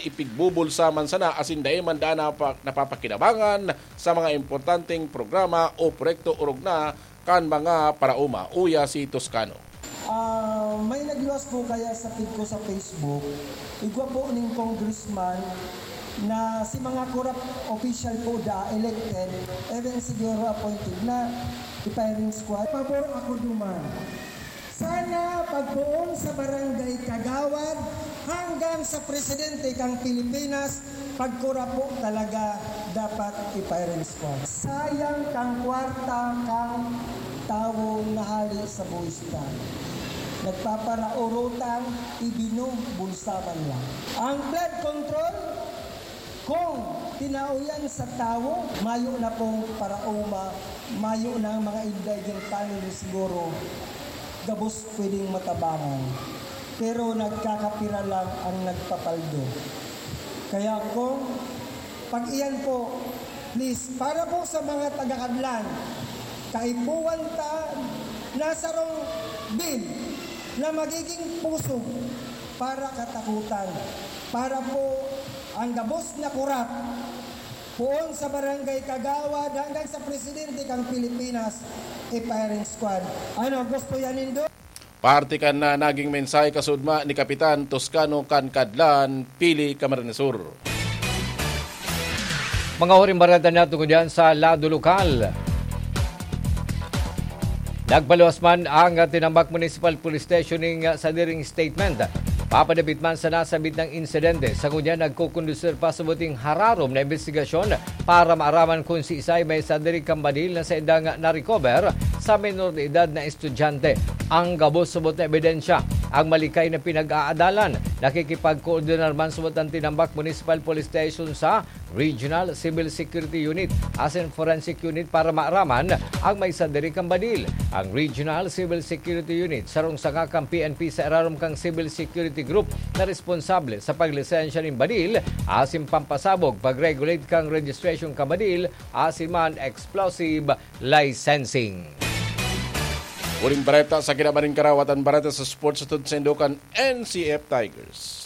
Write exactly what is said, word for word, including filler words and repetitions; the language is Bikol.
ipigbubulsa man sana asin dai man daa napa-, napapakinabangan sa mga importanteng programa o proyekto orog na kan mga paraoma. Uya si Toscano. Ah, may nagluwas po kaya sa feed ko sa Facebook. Igwa po ning congressman na si mga corrupt official po da elected, even siguro appointed na i-firing squad. Pabor ako duman. Sana pagpoon sa barangay kagawad hanggang sa presidente kang Pilipinas, pagkura po talaga dapat i-firing squad. Sayang kang kwarta kang tawo na hali sa buwis ta. Nagpaparaorotang ibinubulsa man lang. Ang flood control, kung tinao yan sa tawo, mayo na pong paraoma, mayo na ang mga indigent family siguro, gabos pwedeng matabangan. Pero nagkakapira lang ang nagpapaldo. Kaya kung pag-iyan po, please, para po sa mga taga-Kadlan, kaipuhan ta na sarong bill na magiging pusog para katakutan, para po ang gabos na kurap, poon sa barangay kagawad hanggang sa presidente kang Pilipinas, e firing squad. Ano, gusto yan nindo? Parte kan na naging mensahe kasudma ni Kapitan Toscano kan Kadlan, Pili, Camarines Sur. Mga huring bareta na tungod yan sa lado lokal. Nagpaluwas man ang Tinambac Municipal Police Station ning sadiring statement. Papadapit man sa nasabit na insidente, sa ngunyan nagkukondusir pa sa buting hararom na imbestigasyon para maaraman kung siisay may sadiri kan badil na saindang na-recover sa menor de edad na estudyante. Ang gabos subot na ebidensya, ang malikay na pinag-aadalan. Nakikipagkoordinar man subot ang Tinambac Municipal Police Station sa Regional Civil Security Unit asin Forensic Unit para maaraman ang may sadiri kan badil. Ang Regional Civil Security Unit, sarong sanga kan P N P sa irarom kan Civil Security Group na responsable sa paglisensya nin badil asin pampasabog, pag-regulate kan registration kan badil asin man explosive licensing. Huring bareta sa kinaban nin karawatan, bareta sa sports atod sa indukan N C F Tigers.